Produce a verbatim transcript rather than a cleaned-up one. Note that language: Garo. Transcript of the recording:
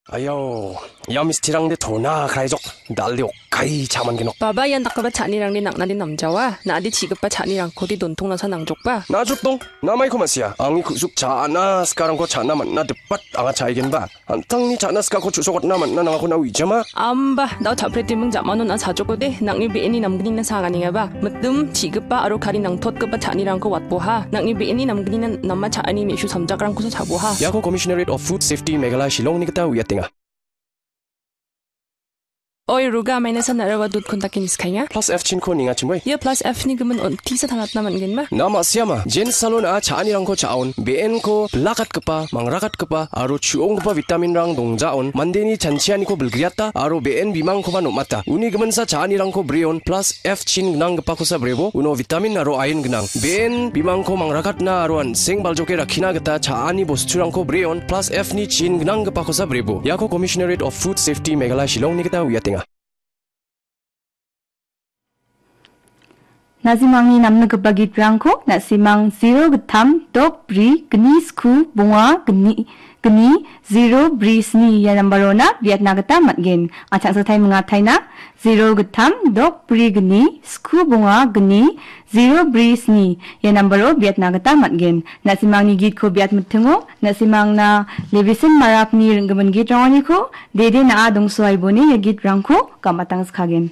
Ayau, ia mistirangde tona kraijok, dalde okkai cha·mangenok. Baba, ian dakgipa cha·anirangde nang·nade namjawa, na·ade chi·gipa cha·nirangkode dontongnasa nangjokba. Najotdong, namaiko ma·sia, angni ku·suk cha·na sikarangko cha·na man·na dipat anga cha·aigenba. An·tangni cha·na sikako chu·sokatna man·na nangako na uijama? Amba, dao cha·pretiming ja·manon a·sajokode, nang·ni be·eni namgnina saganengaba. Mitim, chi·gipa aro kari nangtotgipa cha·anirangko watboha. Nang·ni be·eni namgnina nama cha·ani me·su samjakrangkosa cha·boha. Iako Commissionerate of Food Safety Meghalaya Shillongni gita uiatenga. Oi, Ruga, maina san aro dud kontakin iskainga. Plus F chinko ninga chimoi. Ia plus F ni gimin on tisa tangatna man·genba. Na ma·siama, jen salon a cha·anirangko cha·on, be·enko bilakatgipa, mangrakatgipa, aro chu·onggipa vitaminrang dongjaon, mandeni chanchianiko bilgriata, aro be·en bimangkoba nom·ata. Uni giminsa cha·anirangko breon, plus F chin gnanggipakosa brebo, uno vitamin aro iron gnang. Be·en bimangko mangrakatna aro an·seng baljoke rakkina gita cha·ani bosturangko breon, plus F ni chin gnanggipakosa brebo. Iako Commissionerate of Food Safety Meghalaya Shillongni gita uiatenga. Nasimangni namnikgipa gitrangko nasimang zero gittam dok bri gni sku bonga gni, gni zero bri sni ia nambarona biatna gita man·gen. An·ching satai mingataina zero gittam dok bri gni sku bonga gni zero bri sni ia nambaro biatna gita man·gen. Nasimangni gitko biat mitingo nasimangna Levisin Marakni ring·gimin gitrangoniko dede na·a dongsoaibone ia gitrangko gam·atangskagen.